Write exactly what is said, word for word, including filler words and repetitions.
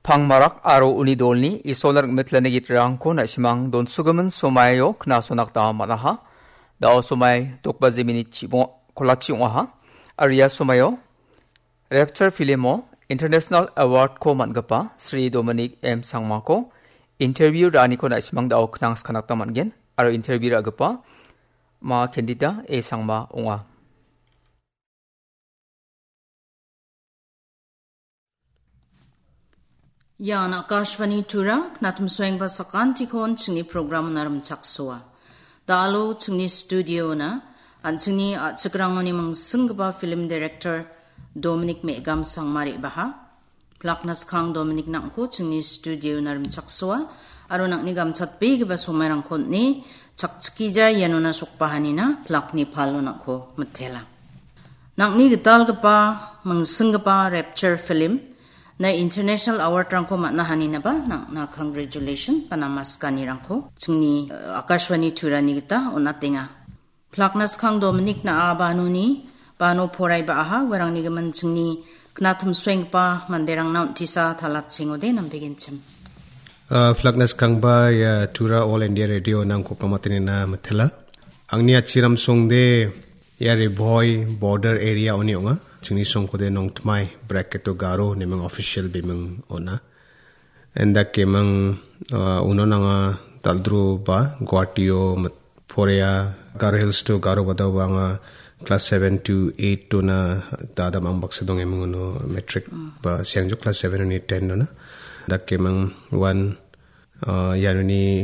Pangmarak aro uni dolni Isolna rim·mitlani gitrangko na·simang donsogimin somaio knasonaktama man·aha. Da·o somai dokbaji minit chibong-, kolachi ong·aha. Aro ia somaio Rapture filmo International Award-ko man·gipa Sri Dominic M Sangmako interview ra·aniko na·simang da·o knangskanatta man·gen. Aro interview ra·gipa ma candidate A Sangma ong·a. Ian Akashvani Tura, knatimsoengba sakantikon chingni program narimchaksoa. Dalo chingni studio-na, an chingni a·chikrangoni mingsinggipa film director Dominic Megam Sangmari baha. Plakna skang Dominic nangko chingni studio narimchaksoa, aro nangni gamchatbegipa somairangko on·e chakchikija ianona sokbahanina plakni palo nangko mitela. Nangni gitalgipa, mingsinggipa Rapture film na international award-rangko man·a haninaba nangna congratulation ba namaskanirangko chingni, eh, Akashvani Turani gita on·atenga. Plakna skang Dominic na·a banoni, bano porai ba·aha, uarangni gimin chingni knatimsoenggipa manderangna on·tisa talatchengode nambegenchim. Ah, plakna skangba ia Tura All India Radio nangko kamatenina mitela. Angni achiram songde ia Ri Bhoi border area oni ong·a. Chingni songkode Nongtmai, bracket-o Garo, neming official biming on·a. Indake mang, ah, uno nanga dal·dro ba Guwahati-o mit-, porea Garo Hills to Garo Vadao ba anga class seven to eight to na dadam ang baksa dong emang uno matric ba siangjo class seven oni ten ona. Indake mang one, ah, ianoni